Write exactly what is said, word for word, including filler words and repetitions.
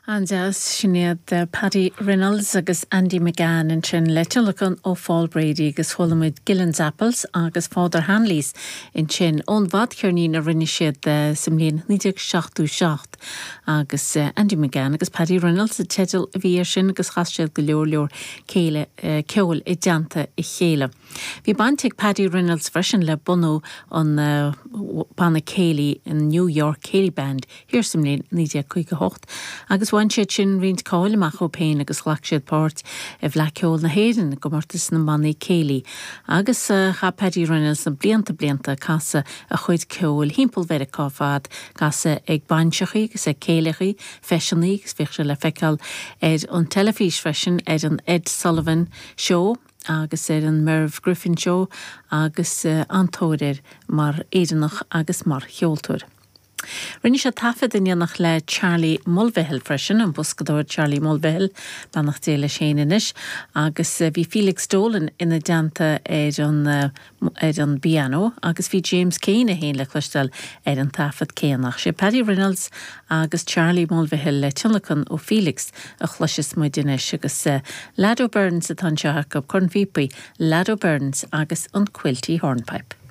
An-deas sin iad Paddy Reynolds agus Andy McGann ansin le tionlacan ó Paul Brady agus chuala muid Gillen's Apples agus Father Hanley's ansin ón bhfadcheirnín a rinne siad sa mbliain naoi déag seachtó seacht agus Andy McGann agus Paddy Reynolds an teideal a bhí air sin agus chas siad go leor leor céile ceoil i dteannta a chéile. Bhí baint ag Paddy Reynolds freisin le bunú an banna céilí in New York Céilí Band thiar sa mbliain naoi déag caoga hocht agus bhain siad sin roinnt cáil amach dóibh féin agus ghlac siad páirt i bhFleadh Cheoil na hÉireann i gcomórtas na mbannaí céilí. Agus chaith Paddy Reynolds na blianta blianta casadh a chuid ceoil thimpeall Mheiriceá fad casadh ag bainseachaí agus ag céilithe feiseanna agus bhíodh sé le feiceáil ar an teilifís freisin ar an Ed Sullivan Show agus ar an Merv Griffin Show agus an-tóir air mar Éireannach agus mar cheoltóir. Rinne sé taifead in éineacht le Charlie Mulvihill freisin an boscadóir Charlie Mulvihill beannacht Dé leis féin anois, agus bhí Felix Dolan ina dteannta ar an ar an bpianó agus bhí James Kane é féin le cloisteáil ar an taifead céanna. Sé Paddy Reynolds agus Charlie Mulvihill le tionlacan ó Felix a chloiseas muid anois agus Lado Burns atá anseo acu cornphíopaí, Lado Burns agus an Quilty Hornpipe.